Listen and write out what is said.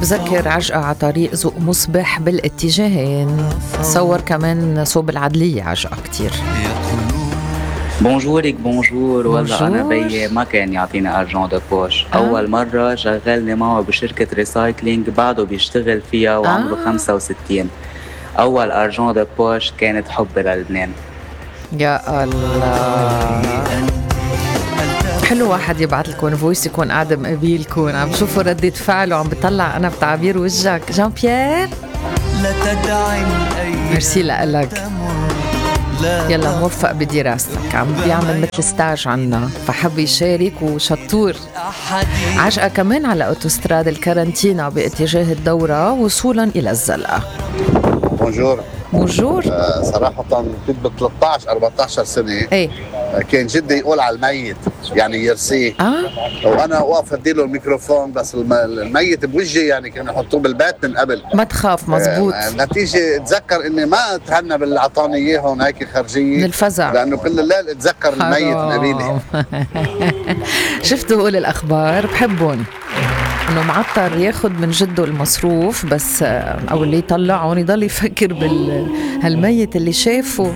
بذكر عجقة على طريق ذوق مصبح بالاتجاهين. صور كمان صوب العدلية عجقة كتير. بونجورك بونجور. والله أنا بيي ما كان يعطيني أرجون دو بوش. أول مرة شغلني معه بشركة ريسايكلينج، بعده بيشتغل فيها وعمره 65. أول أرجون دو بوش كانت حب للبنان. يا الله، حلو واحد يبعت لكم فويس يكون قاعد مقابلكم عم بشوفوا ردة فعله، عم بطلع أنا بتعبير وجهك. جان بيير ميرسي لك، يلا موفق بدراستك، عم بيعمل مثل ستاج عنا فحب يشارك وشطور. عجقة كمان على أوتوستراد الكارنتينا باتجاه الدورة وصولا إلى الزلقة. بونجور. بونجور. صراحة كنت ب 13-14 سنة. ايه كان جدي يقول على الميت يعني يرسيه. وانا واقف اديله الميكروفون، بس الميت بوجهي يعني كانوا يحطوه بالبيت من قبل. ما تخاف، مزبوط. نتيجة اتذكر اني ما اتهنى باللي اعطاني اياهم هيك خارجية من الفزع، لانه كل الليل اتذكر الميت من قبيلي. شفتوا بقول الاخبار بحبهم انه معطر ياخد من جده المصروف بس، او اللي يطلعون يضل يفكر هالميت اللي شافه.